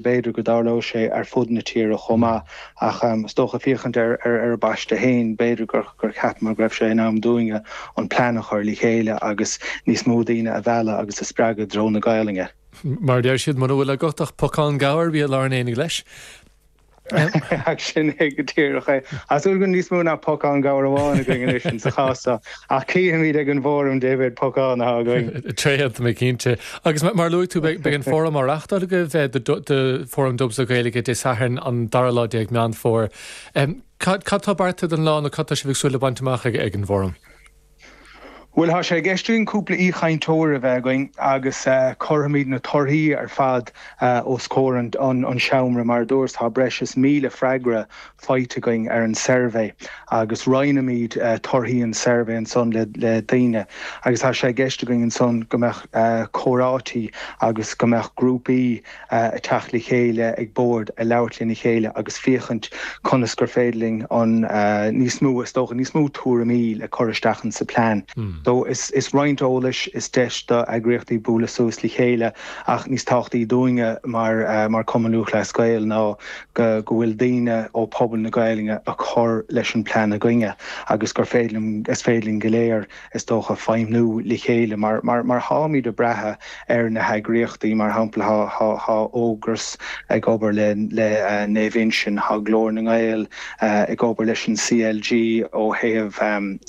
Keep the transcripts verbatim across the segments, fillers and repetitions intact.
B'fhéidir go dtarlódh sé ar fud na tíre chomh maith, ach is dócha féachaint ar ar an bpaiste féin, b'fhéidir gur gur cheapamar go raibh sé in am dúinne an plean a chur le chéile agus níos mó daoine a mhealladh agus a spreagadh i dtreo na Gaelainne. Mar a deir siad, mura bhfuil agat ach pocán gabhair, bí i lár an aonaigh leis. Ach sin é go díreach é. Tá súil go níos mó ná pocán gabhair amháin againn anois in sa chás seo, ach cífimid ag an bhfóram cé mhéad pocán atá againn. Tréan, tá mé cinnte. Agus mar a luaigh tú, beidh an fóram á reáchtáil agaibh, do Fóram Dubs le Gaeilge Dé Sathairn an dara lá déag Meán Fómhair. Cad tá beartaithe don lá nó cad tá sibh ag súil le baint amach ag an bhfóram? Bhuel, tá sé i gceist againn cúpla aoichainteoir a bheith againn agus cuirfimid na torthaí ar fad os comhair an seomra. Mar a dúras, tá breis is míle freagra faighte againn ar an suirbhé agus roinnfimid torthaí an tsuirbhé ansan le daoine agus tá sé i gceist againn ansan go mbeadh comhráití agus go mbeadh grúpaí ag teacht le chéile ag bord ag labhairt lena chéile agus féachaint conas gur féidir linn an níos mó, is dócha, níos mó tuairimí le cur isteach insa plean. So is is roinnt eolais, is deis do eagraíochtaí bualadh suas le chéile ach níos tábhachtaí dúinne mar mar Cumann Lúthchleas Gael ná go go bhfuil daoine ó pobal na Gaelainne ag cur leis an plean againne agus gur féidir linn is féidir linn go léir is dócha, feidhmiú le chéile mar mar tháimid ag brath ar na heagraíochtaí, mar shampla thá thá Ógras ag obair le le Naomh Uinseann, thá Glór na nGael ag obair leis an CLG ó thaobh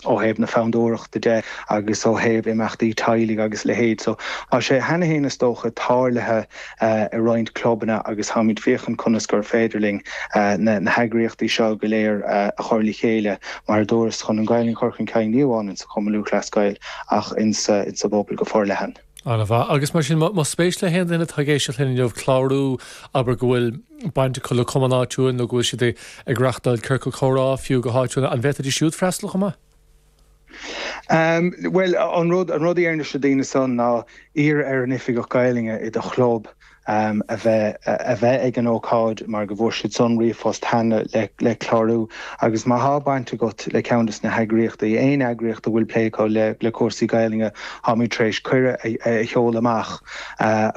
ó thaobh na fondúireachta de agus ó thaobh imeachtaí teaghlaigh agus a leithéid. So tá sé cheana féin is dócha tarlaithe i roinnt clubanna agus táimid féachaint conas gur féidir linn na na heagraíochtaí seo go léir a chur le chéile mar a dúras chun an Ghaelainn a chur chun cinn ní amháin insa Chumann Lúthchleas Gael ach insa insa bpobal go forleathan. An-mhaith. Agus mar sin, más spéis le haon duine atá ag éisteacht linn inniu clárú, abair go bhfuil baint acu le cumann áitiúil nó go bhfuil siad ag reáchtáil ciorcal comhrá fiú go háitiúil, an bhféadfaidís siúd freastal chomh maith? Bhuel, an rud an rud a déarfainnse do daoine san ná iarr ar an oifigeach Gaelainne i do chlub a bheith a bheith ag an ócáid mar go bhfuair siad san ríomhphost cheana le le clárú agus má thá baint agat le ceann des na heagraíochtaí, aon eagraíocht a bhfuil plé acu le le cúrsaí Gaelainne, táimid tar éis cuireadh a a sheoladh amach.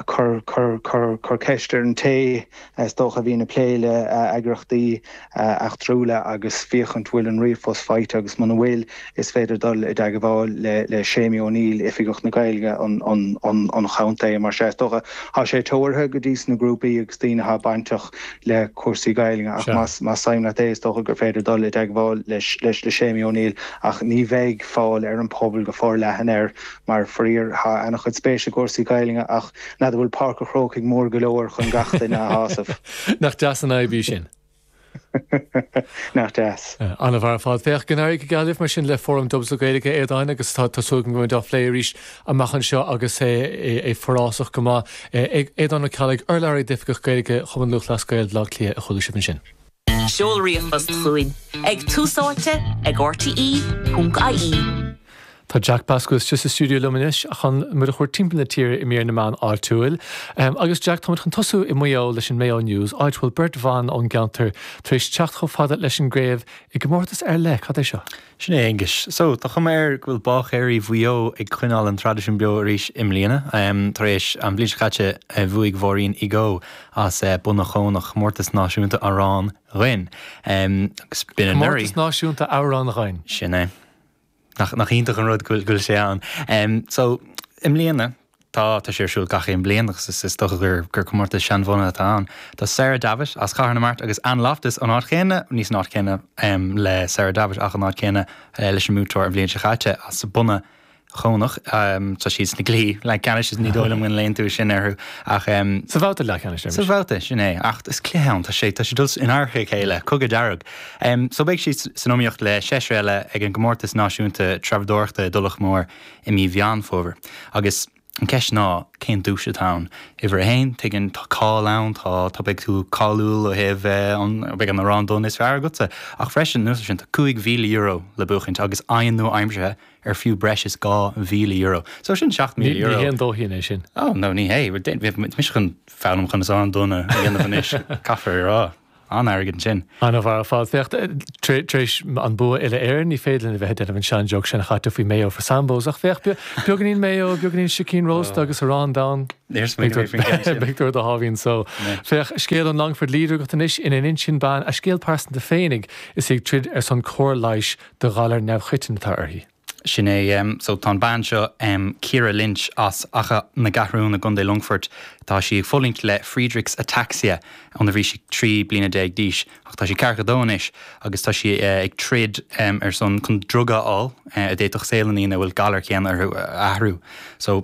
Cuir cuir cuir cuir ceist ar an té is dócha a bhíonn ag plé le eagraíochtaí eachtrúla agus féachaint bhfuil an ríomhphost faighte agus muna bhfuil is féidir dul i dteagmháil le le Séimí O'Neill, Oifigeach na Gaeilge an an an an chontae mar sea is dócha tá sé tabhartha go dtí sna grúpaí agus daoine atá bainteach le cúrsaí Gaeilge ach más más suim leat é is dócha gur féidir dul i dteagmháil leis leis le Séimí O'Neill ach ní bheidh fáil ar an pobal go forleathan air mar faraor tá an-chuid spéis i gcúrsaí Gaeilge ach n'fheadar bhfuil Páirc an Chrócaigh mór go leor chun gach duine a shásamh. Nach deas an fhadhb í sin? Nach deas. An-mhaith ar fad. Féach, go n-éirí go geal libh mar sin le Fóram Dubs le Gaeilge, a Aodáin, agus tá súil agam go mbeimid á phlé arís amach anseo agus é forásach go maith. Aodán Ó Ceallaigh, urlabhraí d'Oifigeach Gaeilge Chumann Lúthchleas Gael Bhaile Átha Cliath a chuala sibh ansin. Seol ríomhphost chugainn ag túsáite ag rte ponc ie. Tá Jack Basco istigh sa stiúideo liom anois chun muid a thabhairt timpeall na tíre i mír na meán áitiúil. Agus Jack, táimid chun tosú i Maigh Eo leis an Mayo News, áit a bhfuil beirt bhan ón gceantar tar éis teacht chomh fada leis an gcraobh i gcomórtas ar leith. Cad é seo? Sin é, Aengus. So, tá cuma air go bhfuil báicéirí Mhaigh Eo ag coinneáil an traidisiún beo arís i mbliana. Tar éis an bhliain seo caite bhuaigh Mháirín Igoe as Bun an Chónach comórtas náisiúnta amhrán dhoinn. Agus b'in anuraidh. Comórtas náisiúnta amhrán dhoinn. Sin é. Nach, nach iontach an rud go bhfuil, go bhfuil sé ann. Um, so, i mbliana, tá, tá sé ar siúl gach aon bliain agus is, is dócha gur, gur comórtas seanbhunaithe atá ann. Tá Sarah Davitt as Cathair na Mart agus Ann Loftus an áit chéanna, ní san áit chéanna um, le Sarah Davitt ach an áit chéanna uh, leis an mbuaiteoir an bhliain seo caite as Bun an Chónach. Um, tá siad sna cluichí leathcheannais is ní dóigh liom go léann tú sin orthu ach um, Sa bhabhta leathcheannais Sa bhabhta sin é ach is cluiche ann tá sé tá sé dul in adharca a chéile cogadh dearg. Um, so beidh siad san iomaíocht le seisear eile ag an gcomórtas náisiúnta treabhdóireachta i dTulach Mhór i mí Mheán Fómhair. Agus an ceist ná cén duais atá ann. Uimhir a haon, tuigeann tá cáil ann, tá tá beidh tú cáiliúil ó thaobh an beidh an amhrán donn is fearr agatsa. Ach freisin anuas sin tá cúig mhíle euro le buachaint agus oigheann nua-aimseartha ar fiú breis is dhá mhíle euro. So sin seacht míle euro. Ní haon dóithín é sin. Oh no ní hé. Mise chun foghlaim chun is amhrán donn a dhéanamh anois. Caithfear a rá. An-airgead ansin. An-mhaith ar fad. Féach, tar éis an bua uile-Éireann, ní féidir linn a bheith ag déanamh an sean-joke sin a chaite faoi mayo for Sambos, ach féach, beagáinín mayo, beagáinín sicín rósta agus arán donn. Níor smaoinigh mé faoin gceann sin. Beidh tú ar do sháimhín só. Féach, scéal ón Longford Leader agat anois ina n-insíonn bean a scéal pearsanta féinig is í ag troid ar son cóir leighis do ghalar neamhchoiteann atá uirthi. Sin é. So tá an bean seo, Ciara Lynch as Achadh na gCeathrún i gContae Longfoirt, tá sí ag fulaingt le Friedreich's Ataxia óna bhí sí trí bliana déag d'aois ach tá sí ceathracha dó anois agus tá sí ag troid ar son chun druga a fháil a d'fhéadfadh saol na ndaoine a bhfuil galar céanna orthu a athrú. So.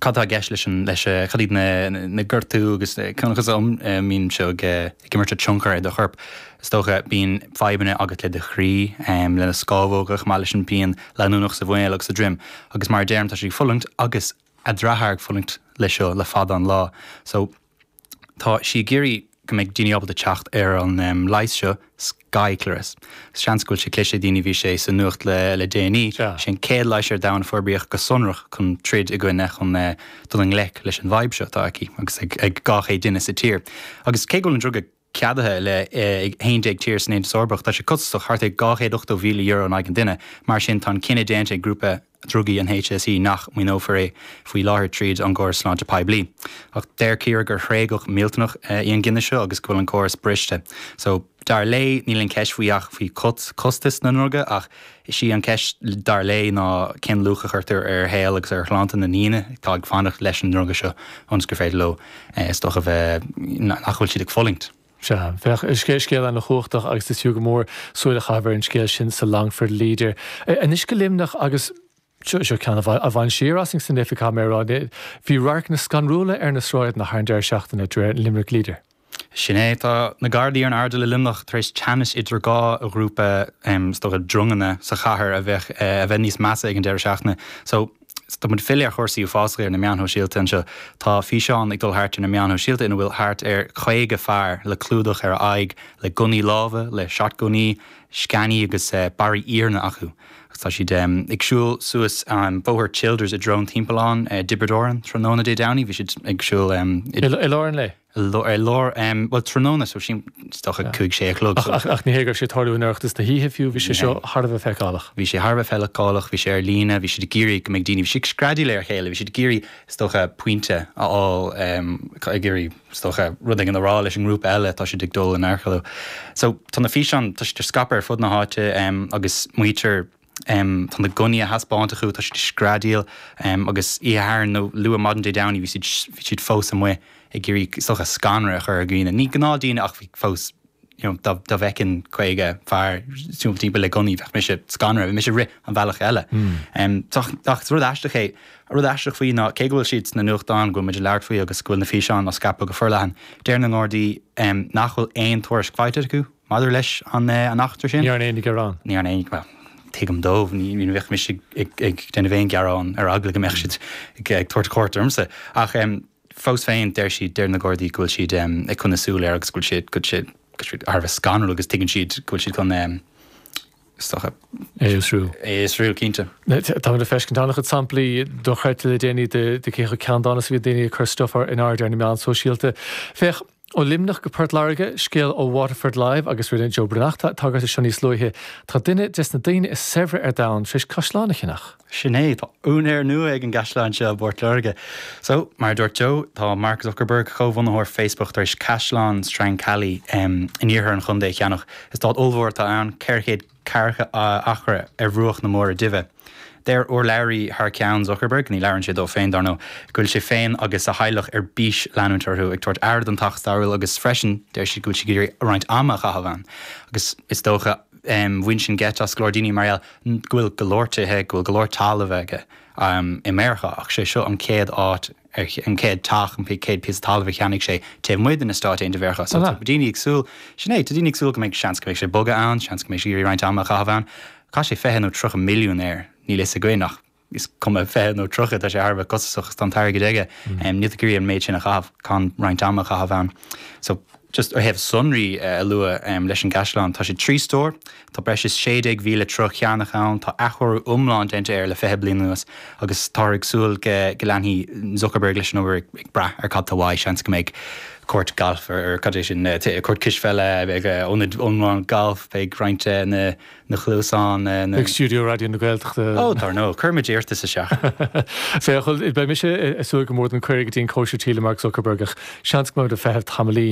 Cad tá i gceist leis an, leis, cad iad na, na gortú agus conas a mbíonn seo ag, ag imirt tionchar ar do chorp? Is dócha, bíonn fadhbanna agat le do chroí, le na scámhóga chomh maith leis an pian leanúnach sa mhuineál agus sa droim. Agus mar a deirim, tá sí ag fulaingt agus a deartháir ag fulaingt leis seo le fada an lá. So, tá sí ag iarraidh go mbeidh daoine ábalta teacht ar an leigheas seo, Skyclarys. Seans go bhfuil sé cloiste ag daoine, bhí sé sa nuacht le le déanaí. Sé an chéad leigheas ar domhan a forbraíodh go sonrach chun troid i gcoinne, chun dul i ngleic leis an bhfadhb seo atá aici agus ag ag dhá chéad duine sa tír. Agus cé go bhfuil an druga ceadaithe le ag haon déag tír san Aontas Eorpach, tá sé costasach, thart ar dhá chéad ochtó mhíle euro in aghaidh an duine. Mar sin, tá an cinneadh déanta ag grúpa drugaí an HSE nach maoineofar é faoi láthair tríd an gcóras sláinte poiblí. Ach deir Ciara gur thréigeadh millteanach í an gcinneadh seo agus go bhfuil an córas briste. So, dar léi, níl an ceist faoi ach faoi chostas na ndruga ach is í an ceist dar léi ná cén luach a chuirtear ar shaol agus ar shláinte na ndaoine atá ag fanacht leis an ndruga seo ionas gur féidir leo is dócha bheith nach bhfuil siad ag fulaingt. Sea, féach, scéal an-chumhachtach agus is fiú go mór súil a chaitheamh ar an scéal sin sa Longford Leader. Anois go Luimneach agus seo ceann a bhain siar asainn san oifig, caithfidh mé a rá. Bhí radharcanna scanrúla ar na sráideanna thar an deireadh seachtaine, de réir an Limerick Leader. Sin é, tá na Gardaí ar an airdeall i Luimneach tar éis teannas idir dhá ghrúpa, is dócha, dronganna sa chathair a bheith a bheith níos measa ag an deireadh seachtaine. So, tá muid ag filleadh ar chúrsaí uafásacha ar na meáin shóisialta anseo. Tá físeán ag dul thart ar na meáin shóisialta ina bhfuil thart ar chaoga fear le clúdach ar a aghaidh, le gunnaí láimhe, le shotgunnaí, sceanaí agus barraí iarainn acu. Agus tá siad ag siúl suas Bóthar Childers i dtreo an Timpealláin i dTiobraid Árann tráthnóna Dé Domhnaigh. Bhí siad ag siúl i lár an lae. I lár, bhuel tráthnóna, so sin is dócha cúig sé a chlog. Ach ach ní hé go raibh sé ag tarlú in oireachtas na hoíche fiú, bhí sé seo thar a bheith feiceálach. Bhí sé thar a bheith feiceálach, bhí sé ar líne, bhí siad ag iarraidh go mbeidh daoine, bhí siad ag screadaíl ar a chéile, bhí siad ag iarraidh is dócha pointe a fháil, ag iarraidh is dócha rud éigin a rá leis an ngrúpa eile atá siad ag dul in adharca leo. So tá na físeáin, tá siad ar scaipeadh ar fud na háite agus maítear, Tá na gunnaí á thaispeáint acu, tá siad ag screadaíl agus oíche Shathairn nó luath maidin Dé Domhnaigh bhí siad bhí siad fós amuigh ag iarraidh is dócha scanradh a chur ar dhaoine. Ní gnáthdhaoine ach bhí fós you know dá dá bhfeicfinn caoga fear siúl timpeall le gunnaí bheadh mise scanraithe, bheadh mise ag rith an bhealach eile. Ach is rud aisteach é, rud aisteach faoi ná cé go bhfuil siad sna nuachtáin, go bhfuil muid ag labhairt faoi agus go bhfuil na físeáin á scaipeadh go forleathan, deir na nGardaí nach bhfuil aon tuairisc faighte acu maidir leis an eachtra sin. Ní dhearna éinne gearán. Ní dhearna éinne, bhuel, tuigim dóibh, ní bheadh mise ag déanamh aon ghearán ar eagla go mbeadh siad ag tabhairt cuairt ormsa. Ach fós féin, deir siad, deir na Gardaí go bhfuil siad ag coinneáil súil air agus go bhfuil siad, go bhfuil siad thar a bheith scanrúil agus tuigeann siad go bhfuil siad chun, is dócha. É a fhiosrú. É a fhiosrú, cinnte. Táimid ag feiscint an-chuid samplaí dochreidte le déanaí de cé chomh ceanndána is a bhíonn daoine ag cur stuif in airde ar na meáin sóisialta. Féach, Ó Luimneach go Port Láirge, scéal ó Waterford Live agus rinne Joe Breathnach tagairt do seo níos luaithe. Tá duine des na daoine is saibhre ar domhan tar éis caisleán a cheannach. Sin é, tá úinéir nua ag an gcaisleán seo i bPort Láirge. So, mar a dúirt Joe, tá Mark Zuckerberg, comhbhunaitheoir Facebook, tar éis Caisleán Strancally in iarthar an chontae a cheannach. Eastát ollmhór atá ann, ceithre chéad ceathracha acra ar bhruach na Muire Duibhe. Deir urlabhraí thar ceann Zuckerberg, ní labhrann sé dó féin, dar ndóigh, go bhfuil sé féin agus a theaghlach ar bís leanúint orthu ag tabhairt aire don teach stairiúil agus freisin deir siad go bhfuil siad ag iarraidh roinnt ama a chaitheamh ann. Agus is dócha, bhain sin geit as go leor daoine mar gheall go bhfuil go leor tithe, go bhfuil go leor talamh aige i Meiriceá ach sé seo an chéad áit, an chéad teach, an chéad píosa talaimh a cheannaigh sé taobh amuigh de na Stáit Aontaithe Mheiriceá. So tá daoine ag súil, sin é, tá daoine ag súil go mbeidh seans go mbeidh sé ag bogadh ann, seans go mbeidh sé ag iarraidh roinnt ama a chaitheamh ann. Chaith sé fiche nó tríocha milliún air, níl fhios againn ach is cuma fiche nó tríocha, tá sé thar a bheith costasach agus tá an t-airgead aige. Níl tú ag iarraidh an méid sin a chaitheamh gan roinnt ama a chaitheamh ann. So, just ó thaobh sonraí a lua leis an gcaisleán, tá sé trí stór, tá breis is sé déag mhíle troigh chearnach ann, tá athchóiriú iomlán déanta air le fiche bliain anuas agus táthar ag súil go leanfaidh Zuckerberg leis an obair ag brath ar cad tá uaidh, seans go mbeidh Cúirt galf ar cad é sin cúirt cispheile beidh ionad iomlán galf beidh roinnt na na cluasáin na Beidh stiúideo Raidió na Gaeltachta. Ó dar ndóigh, cuirfimid iarratas isteach. Féach, beidh mise ag súil go mór don cuireadh go dtí an cóisir tí le Mark Zuckerberg ach seans go mbeidh ag feitheamh tamaillín.